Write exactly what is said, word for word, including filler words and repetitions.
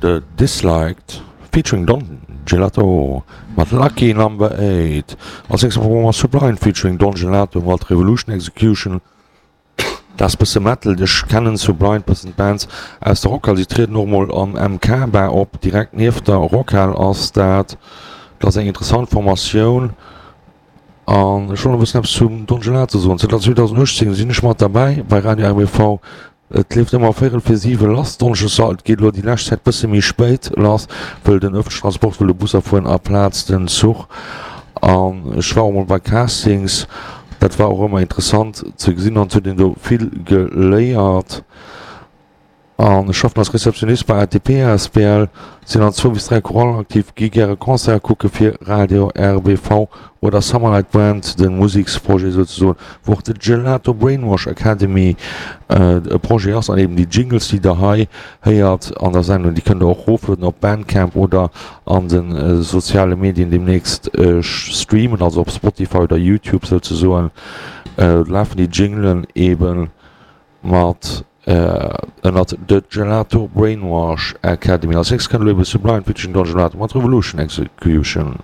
The Disliked featuring Don Gelato mat Lucky Number Eight. Als nächst am Programm ass Sublime featuring Don Gelato mat Revolution Execution. Dat ass bësse Metal, ech kennen Sublime bëssen, d'Bands aus der Rockhal. Si trieden och mol am M K Bar op, direkt nieft der Rockhal ass dat. Dat ass eng interessant Formatioun. An ech wollt e bëssen eppes zum Don Gelato soen. Zënter zweedausenduechtzéng sinn ech mat derbäi bei Radio R B V. Et leeft ëmmer véierel fir siwe lass donneschdes. Et geet elo déi lescht Zäit bësse méi spéit lass, wëll den ëffentlechen Transport, wëll de Busser fueren aplaz den Zuch. An ech war och mol bei Castings, dat war och ëmmer interessant ze gesinn an et huet een do vill geléiert. An ech schaffen als Receptionniste bei A T P A S B L, sinn an zwou bis dräi Chorallen aktiv, gi gäre Concerte kucke fir Radio R B V oder Summerlight Band, de Museksprojet souzesoen, wou och de Gelato Brainwash Academy e Projet ass an eben déi Jingles, déi der hei héiert an der Sendung, déi kënnt der och roflueden op Bandcamp oder an de soziale Medien deemnächst streamen, also op Spotify oder YouTube souzesoen lafen déi Jinglen eben mat ënnert The Gelato Brainwash Academy. Als nächst kënnt elo eben Sublime featuring Don Gelato mat Revolution Execution.